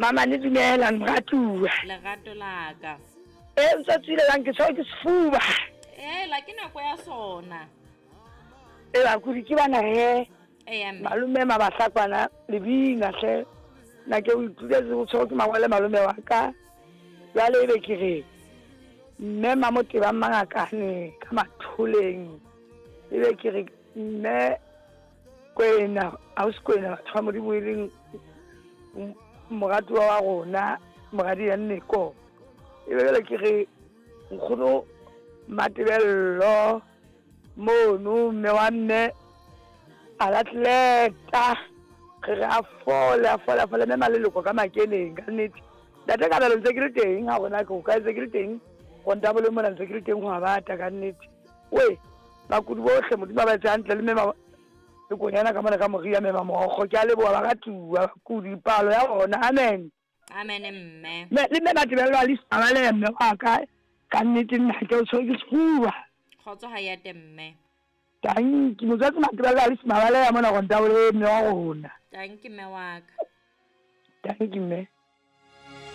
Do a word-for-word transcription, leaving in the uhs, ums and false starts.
Mama ne dumela moratuwa. Lerato la ka. E ntse tswile lang ke tshwere ke sefuba. Eh la ke nako ya sona. E bakudi ke bana he. Eya mme. Malome mabahlakwana lebina hle. Nna ke o ituletse o tshwere ke mangwele malome wa ka. Jwale ebe ke re mme Mamoteba Mangakane ka Matholeng. Ebe ke re mme Kwena, ausi Kwena batho ba Modimo e leng moratuwa wa rona, moradi ya Nneko. Ebe jwale ke re nkgono Matebello mono mme wa mme a latleta re re a fole a fole a fole mme maleloko ka makeneng ka nnete. Ntate Kabelo ntse ke le teng ha rona ke o ka ntse ke le teng kontabole mona ntse ke le teng ho a bata ka nnete. We bakudi bohle Modimo a ba etse hantle le mme le konyana ka mona ka moria mme mamokgo ke a leboha baratuwa bakudi palo ya bona. Amen. Amen mme. Mme le mme Matebello a le sabale mme wa ka ka nnete nna ke o tshwere ke sefuba. Kgotso ha ya te mme. Tanki motswatsi Matebello a le mabale ya mona kontabole mme wa rona. Tanki mme wa ka. Tanki mme.